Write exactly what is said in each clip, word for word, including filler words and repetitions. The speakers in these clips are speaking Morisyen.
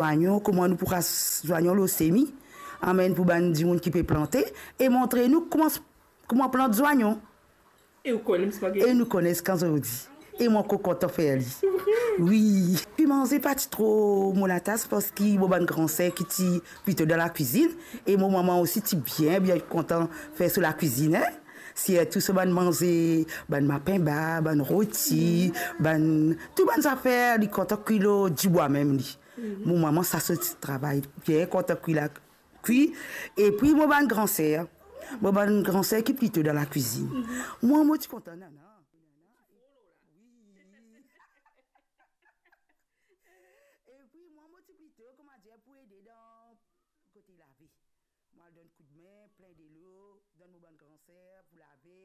zwanyon, kouma nou pou ras zwanyon lor semi, amenn pou bann dimoun ki pe plante, e montre nou kouma, kouma plant zwanyon. E ou kone, Miss Marguerite? E nou kone ziska zordi. E mo ankor kontan fer li. Wi. Pi manze pa ti tro mo latas, parski mo bann gran ser ki ti plito dan lakwizinn, e mo mama osi ti bien, bien kontan fer so lakwizinn, en. Sirtou so bann manze, bann mapinba, bann roti, bann, tou bann zafer, li kontan kwi lor dibwa mem li. Mo mama, sa so ti travay, bien kontan kwi la, kwi. Epi mo bann gran ser, mo bann gran ser ki plito dan lakwizinn. Mwa, mo ti kontan, nana. Wi. Epi mwa, mo ti plito, kouma dir, pou ede dan kote lave. Mo al donn koudme, plin delo, donn mo bann gran ser pou lave,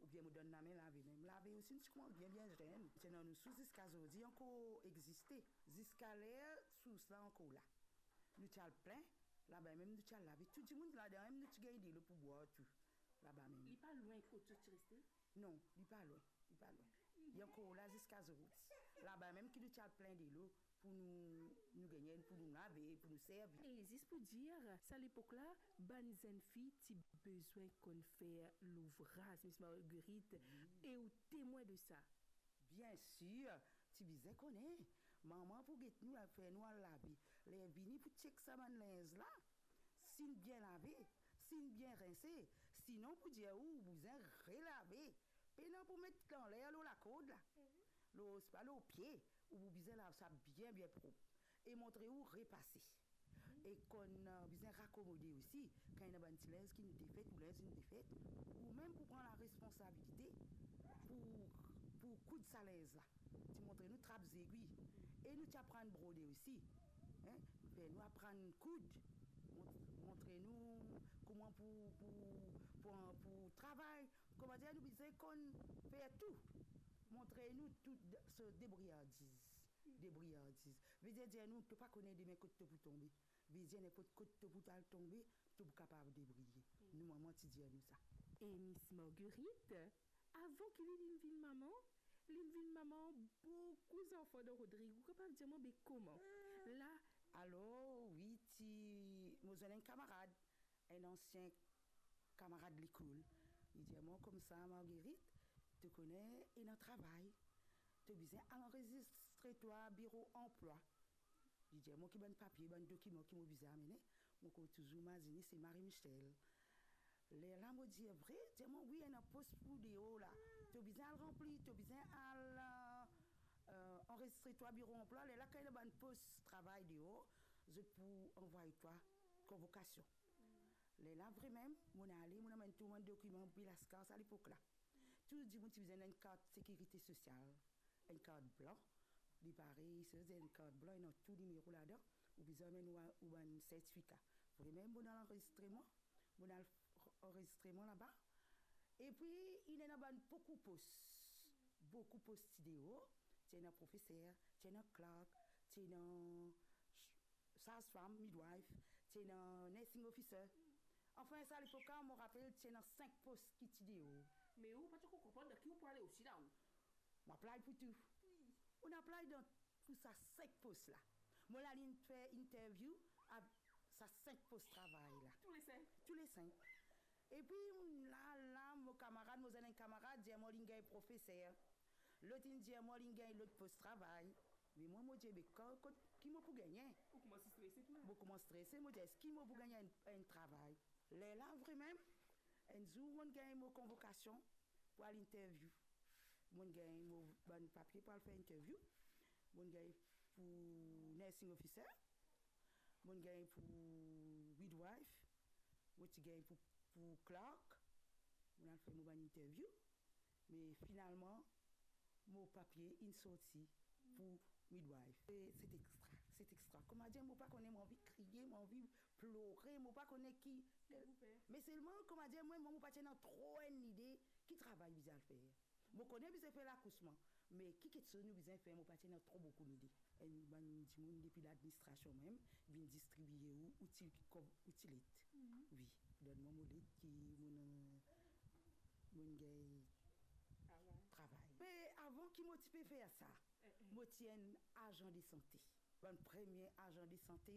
oubien mo donn lame lave mem. Lave osi, nou ti koumans bien, bien zenn. Ti ena nou sours ziska zordi ankor existe. Ziska ler sours la ankor la. Nou ti al plin, laba mem nou ti al lave. Tou dimoun ladan mem, nou ti gagn delo pou bwar tou, laba mem. Li pa lwin kot zot ti reste? Non, li pa lwin, li pa lwin. Li ankor la ziska zordi. Laba mem ki nou ti al plin delo pou nou, nou gagn, pou nou lave, pou nou servi. E zis pou dir, sa lepok la, bann zenn fi ti bizin konn fer louvraz, Miss Marguerite, wi, e ou temwin de sa. Bien sir, ti bizin kone. Mama pou get nou, fer nou al lave. Ler vini pou chek sa bann linz la, si inn bien lave, si inn bien rense, sinon pou dir ou, ou bizin relave. Pena pou met anler lor lakord la. Lor, sepa lor pie, ou pou bizin lav sa bien, bien prop. E montre ou repase. E konn, eh, bizin rakomode osi, kan ena bann ti linz ki nou defet, ou linz nou defet, ou mem pou pran laresponsabilite pou, pou koud sa linz la. Ti montre nou trap zegwi. E nou ti aprann brode osi. En? Fer nou aprann koud. Mont-, montre nou kouma pou, pou, pou, pou travay. Kouma dir, nou bizin konn fer tou. Montre nou tou de-, so debriyardiz. Debriyardiz. Vedir, dir nou, to pa kone demin kot to pou tonbe. Vedir, ninport kot to pou al tonbe, to pou kapav debriye. Nou mama ti dir nou sa. E Miss Marguerite, avan ki li, linn vinn mama, linn vinn mama boukou zanfan dan Rodrig. Ou kapav dir mwa, be kouma? La. Alor, wi, ti, mo zwenn enn kamarad, enn ansien kamarad lekol. Li dir mwa koumsa, Marguerite, to kone, ena travay. To bizin al anrezistre twa biro anplwa. Li dir mwa ki bann papie, bann dokiman ki mo bizin amene. Mo konn touzour mazine se Marie Michel. Lerla mo dir, vre? Dir mwa, wi, ena pos pou deor la. To bizin al ranpli, to bizin al, eh, eh, anrezistre twa biro anplwa. Lerla, kan ena bann pos travay deor, zot pou anvway twa konvokasion. Lerla, vremem, mo'nn ale, mo'nn amenn tou bann dokiman, be laskar sa lepok la. Tou dimoun ti bizin enn kart sekirite sosial, enn kart blan. Li parey, se enn kart blan, ena tou nimero ladan. Ou bizin amenn ou, ou bann sertifika. Vremem, mo'nn al anrezistre mwa, mo'nn al anrezistre mwa laba. Epi, inn ena bann boukou pos. Boukou pos ti deor. Ti ena profeser, ti ena clerk, ti ena sazfam, midwife, ti ena nursing officer. Anfin, sa lepok la, mo rapel, ti ena sink pos ki ti deor. Me ou pa ti ankor konpran dan ki ou pou ale osi la, ou? Mo apply pou tou. Wi. Mo'nn apply dan, pou sa sink pos la. Mo la, linn fer interview a sa sink pos travay la. Tou le sink? Tou le sink. Epi, la, la, mo kamarad, mo zwenn enn kamarad, dir mwa linn gagn profeser. Lot inn dir mwa linn gagn lot pos travay. Me mwa, mo dir, be, kan, kot, ki mo pou gagne? Ou koumans strese tou la. Mo koumans strese, mo dir, eski mo pou gagn enn, enn travay? Lerla, vremem, enn zour, mo'nn gagn mo konvokasion pou al interview. Mo'nn gagn mo bann papie pou al fer interview. Mo'nn gagn pou nursing officer. Mo'nn gagn pou midwife. Mo ti gagn pou, pou clerk. Mo'nn al fer mo bann interview. Me finalman, mo papie inn sorti pou midwife. E se ti extra, se ti extra. Kouma dir, mo pa kone, mo anvi kriye, mo anvi plore, mo pa kone ki. Ki ou fer? Me selman, kouma dir, mwa, mo pa ti ena tro enn lide ki travay bizin al fer. Mo kone bizin fer lakousman, me ki kiksoz nou bizin fer, mo pa ti ena tro boukou lide. Enn bann dimoun depi ladministrasion mem vinn distribie ou, ou ti, kom, ou ti let. Mhm. Wi, donn mwa mo let ki mo'nn, mo'nn gagn travay. Me avan ki mo ti pe fer sa, eh, eh, mo ti enn azan de sante. Bann premie azan de sante